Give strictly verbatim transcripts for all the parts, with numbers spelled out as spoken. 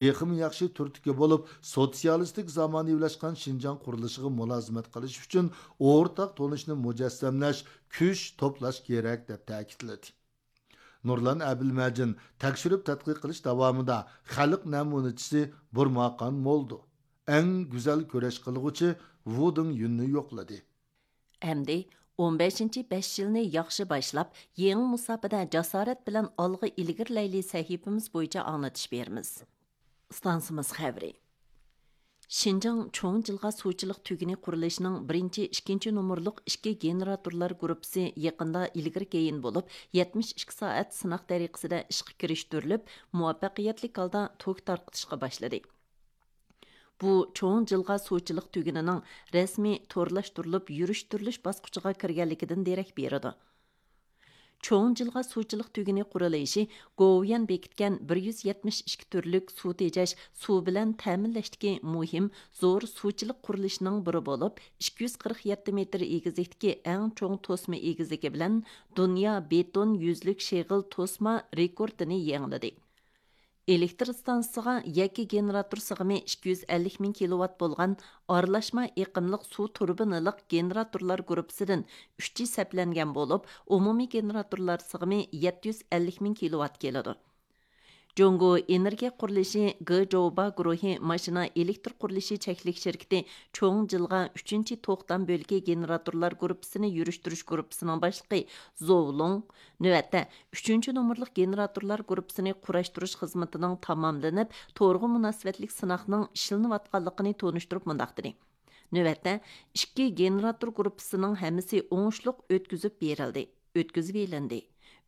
تېخىمۇ ياخشى تۈرتكە بولۇپ، سوتسىيالىستىك زامانىۋىلاشقان شىنجاڭ قۇرۇلۇشىغا مۇلازىمەت قىلىش ئۈچۈن ئورتاق تونۇشنى مۇجەسسەملەش، كۈچ توپلاش كېرەك، دەپ تەكىتلىدى. نۇرلان ئەبىلمەجىن تەكشۈرۈپ تەتقىق قىلىش داۋامىدا خەلق نەمۇنىچىسى بۇرماقان مولدو، ئەڭ گۈزەل كۈرەش قىلغۇچى ۋۇ دېڭ يۈننى يوقلىدى. ئەمدى ئون بەشىنچى بەش يىلنى ياخشى باشلاپ، يېڭى مۇساپىدە جاسارەت بىلەن ئالغا ئىلگىرىلەيلى سەھىپىمىز بويىچە ئاڭلىتىش بېرىمىز. ئىستانسىمىز خەۋىرى. شىنجاڭ چوڭ جىلغا سۇچىلىق تۈگۈنى قۇرۇلۇشىنىڭ بىرىنچى، ئىككىنچى نومۇرلۇق ئىككى گېنېراتورلار گۇرۇپپىسى يېقىندا ئىلگىرى كېيىن بولۇپ، يەتمىش ئىككى سائەت سىناق تەرىقىسىدە ئىشقا كىرىشتۈرۈلۈپ، مۇۋەپپەقىيەتلىك ھالدا توك تارقىتىشقا باشلىدى. بۇ چوڭ جىلغا سۇچىلىق تۈگۈنىنىڭ رەسمىي تورلاشتۇرۇلۇپ يۈرۈشتۈرۈلۈش باسقۇچىغا كىرگەنلىكىدىن دېرەك بېرىدۇ. چوڭ جىلغا سۇچىلىق تۈگۈنى قۇرۇلۇشى گوۋۇيۈەن بېكىتكەن بىر يۈز يەتمىش ئىككى تۈرلۈك سۇ تېجەش، سۇ بىلەن تەمىنلەشتىكى مۇھىم زور سۇچىلىق قۇرۇلۇشىنىڭ بىرى بولۇپ، ئىككى يۈز قىرىق يەتتە مېتىر ئېگىزلىكتىكى ئەڭ چوڭ توسما ئېگىزلىكى بىلەن دۇنيا بېتون يۈزلۈك شېغىل توسما رېكورتىنى يېڭىلىدى. ئېلېكتر ئىستانسىسىغا يەككە گېنېراتور سىغىمى ئىككى يۈز ئەللىك مىڭ كىلوۋات بولغان ئارىلاشما ئېقىملىق سۇ تۇربىنىلىق گېنېراتورلار گۇرۇپپىسىدىن ئۈچى سەپلەنگەن بولۇپ، ئومۇمىي گېنېراتورلار سىغىمى يەتتە يۈز ئەللىك مىڭ كىلوۋات كېلىدۇ. جۇڭگو ئېنېرگىيە قۇرۇلۇشى گېجوۋا گۇرۇھى ماشىنا ئېلېكتر قۇرۇلۇشى چەكلىك شىركىتى چوڭ جىلغا ئۈچىنچى توختام بۆلىكى گېنېراتورلار گۇرۇپپىسىنى يۈرۈشتۈرۈش گۇرۇپپىسىنىڭ باشلىقى زوۋ لۇڭ نۆۋەتتە ئۈچىنچى نومۇرلۇق گېنېراتورلار گۇرۇپپىسىنى قۇراشتۇرۇش خىزمىتىنىڭ تاماملىنىپ، تورغا مۇناسىۋەتلىك سىناقنىڭ ئىشلىنىۋاتقانلىقىنى تونۇشتۇرۇپ مۇنداق دېدى: نۆۋەتتە ئىككى گېنېراتور گۇرۇپپىسىنىڭ ھەممىسى ئوڭۇشلۇق ئۆتكۈزۈپ بېرىلدى، ئۆتكۈزۈۋېلىندى.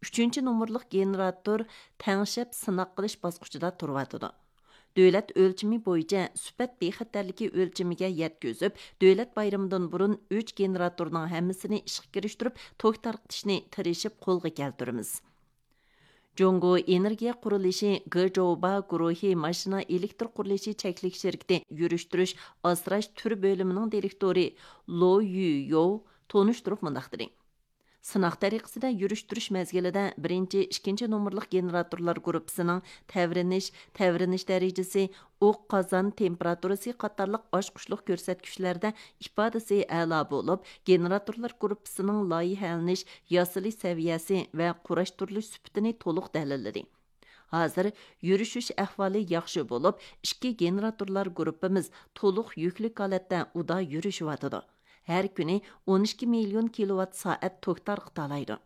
ئۈچىنچى نومۇرلۇق گېنېراتور تەڭشەپ سىناق قىلىش باسقۇچىدا تۇرۇۋاتىدۇ. دۆلەت ئۆلچىمى بويىچە سۈپەت بىخەتەرلىكى ئۆلچىمىگە يەتكۈزۈپ، دۆلەت بايرىمىدىن بۇرۇن ئۈچ گېنېراتورنىڭ ھەممىسىنى ئىشقا كىرىشتۈرۈپ، توك تارقىتىشنى تىرىشىپ قولغا كەلتۈرىمىز. جۇڭگو ئېنېرگىيە قۇرۇلۇشى گېجوۋا گۇرۇھى ماشىنا ئېلېكتر قۇرۇلۇشى چەكلىك شىركىتى يۈرۈشتۈرۈش ئاسراش تۈر بۆلۈمىنىڭ دىرېكتورى لو يۈيو تونۇشتۇرۇپ مۇنداق دېدى: سىناق تەرىقىسىدە يۈرۈشتۈرۈش مەزگىلىدە بىرىنچى، ئىككىنچى نومۇرلۇق گېنېراتورلار گۇرۇپپىسىنىڭ تەۋرىنىش، تەۋرىنىش دەرىجىسى، ئوق قازان تېمپېراتۇرىسى قاتارلىق ئاچقۇچلۇق كۆرسەتكۈچلەردە ئىپادىسى ئەلا بولۇپ، گېنېراتورلار گۇرۇپپىسىنىڭ لايىھەلىنىش ياسىلىش سەۋىيەسى ۋە قۇراشتۇرۇلۇش سۈپىتىنى تولۇق دەلىللىدى. ھازىر يۈرۈشۈش ئەھۋالى ياخشى بولۇپ، ئىككى گېنېراتورلار گۇرۇپپىمىز تولۇق يۈكلۈك ھالەتتە ئۇدا يۈرۈشۈۋاتىدۇ. ھەر كۈنى ئون ئىككى مىليون كىلوۋات سائەت توك تارقىتالايدۇ.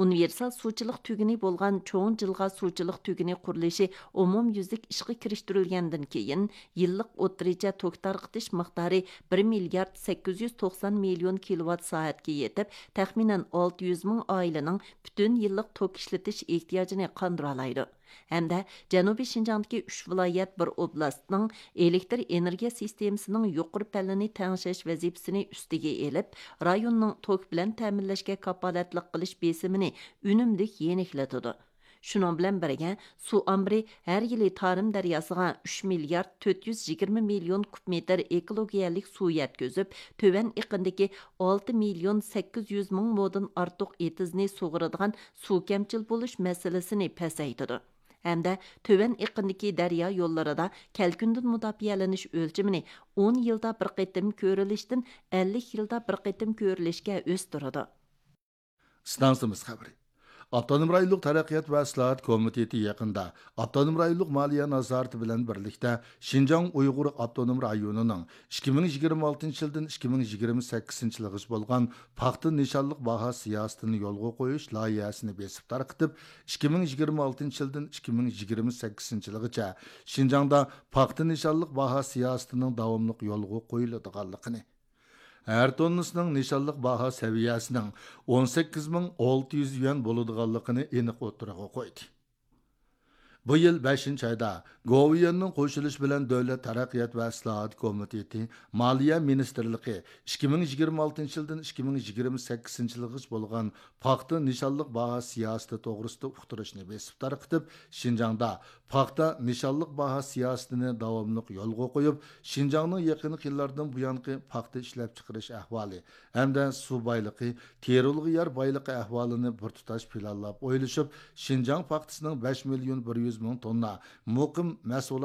ئۇنىۋېرسال سۇچىلىق تۈگۈنى بولغان چوڭ جىلغا سۇچىلىق تۈگۈنى قۇرۇلۇشى ئومۇميۈزلۈك ئىشقا كىرىشتۈرۈلگەندىن كېيىن، يىللىق ئوتتۇرىچە توك تارقىتىش مىقدارى بىر مىليارد سەككىز يۈز توقسان مىليون كىلوۋات سائەتكە يېتىپ، تەخمىنەن ئالتە يۈز مىڭ ئائىلىنىڭ پۈتۈن يىللىق توك ئىشلىتىش ئېھتىياجىنى قاندۇرالايدۇ. ھەمدە جەنۇبىي شىنجاڭدىكى ئۈچ ۋىلايەت، بىر ئوبلاستنىڭ ئېلېكتر ئېنېرگىيە سىستېمىسىنىڭ يۇقىرى پەللىنى تەڭشەش ۋەزىپىسىنى ئۈستىگە ئېلىپ، رايوننىڭ توك بىلەن تەمىنلەشكە كاپالەتلىك قىلىش بېسىمىنى ئۈنۈملۈك يېنىكلىتىدۇ. شۇنىڭ بىلەن بىرگە، سۇ ئامبىرى ھەر يىلى تارىم دەرياسىغا ئۈچ مىليارد تۆت يۈز يىگىرمە مىليون كۇب مېتىر ئېكولوگىيەلىك سۇ يەتكۈزۈپ، تۆۋەن ئېقىندىكى ئالتە مىليون سەككىز يۈز مىڭ مودىن ئارتۇق ئېتىزنى سۇغىرىدىغان سۇ كەمچىل بولۇش مەسىلىسىنى پەسەيتىدۇ. ھەمدە تۆۋەن ئېقىندىكى دەريا يوللىرىدا كەلكۈندىن مۇداپىئەلىنىش ئۆلچىمىنى ئون يىلدا بىر قېتىم كۆرۈلۈشتىن ئەللىك يىلدا بىر قېتىم كۆرۈلۈشكە ئۆستۈرىدۇ. ئىستانسىمىز خەۋىرى. ئاپتونوم رايونلۇق تەرەققىيات ۋە ئىسلاھات كومىتېتى يېقىندا ئاپتونوم رايونلۇق مالىيە نازارىتى بىلەن بىرلىكتە شىنجاڭ ئۇيغۇر ئاپتونوم رايونىنىڭ ئىككى مىڭ يىگىرمە ئالتىنچى يىلدىن ئىككى مىڭ يىگىرمە سەككىزىنچى يىلغىچە بولغان پاختا نىشانلىق باھا سىياسىتىنى يولغا قويۇش لايىھەسىنى بېسىپ تارقىتىپ، ئىككى مىڭ يىگىرمە ئالتىنچى يىلدىن ئىككى مىڭ يىگىرمە سەككىزىنچى يىلغىچە شىنجاڭدا پاختا نىشانلىق باھا سىياسىتىنىڭ داۋاملىق يولغا قويۇلىدىغانلىقىنى، ھەر توننىسىنىڭ نىشانلىق باھا سەۋىيەسىنىڭ ئون سەككىز مىڭ ئالتە يۈز يۈەن بولىدىغانلىقىنى ئېنىق ئوتتۇرىغا قويدى. بۇ يىل بەشىنچى ئايدا گوۋۇيۈەننىڭ قوشۇلۇشى بىلەن دۆلەت تەرەققىيات ۋە ئىسلاھات كومىتېتى، مالىيە مىنىستىرلىقى ئىككى مىڭ يىگىرمە ئالتىنچى يىلدىن ئىككى مىڭ يىگىرمە سەككىزىنچى يىلغىچە بولغان پاختا نىشانلىق باھا سىياسىتى توغرىسىدا ئۇقتۇرۇشنى بېسىپ تارقىتىپ، شىنجاڭدا پاختا نىشانلىق باھا سىياسىتىنى داۋاملىق يولغا قويۇپ، شىنجاڭنىڭ يېقىنقى يىللاردىن بۇيانقى پاختا ئىشلەپچىقىرىش ئەھۋالى ھەمدە سۇ بايلىقى، تېرىلغۇ يەر بايلىقى ئەھۋالىنى بىر تۇتاش پىلانلاپ ئويلىشىپ، شىنجاڭ پاختىسىنىڭ بەش مىليون بىر يۈز مىڭ توننا مۇقىم مەھسۇلات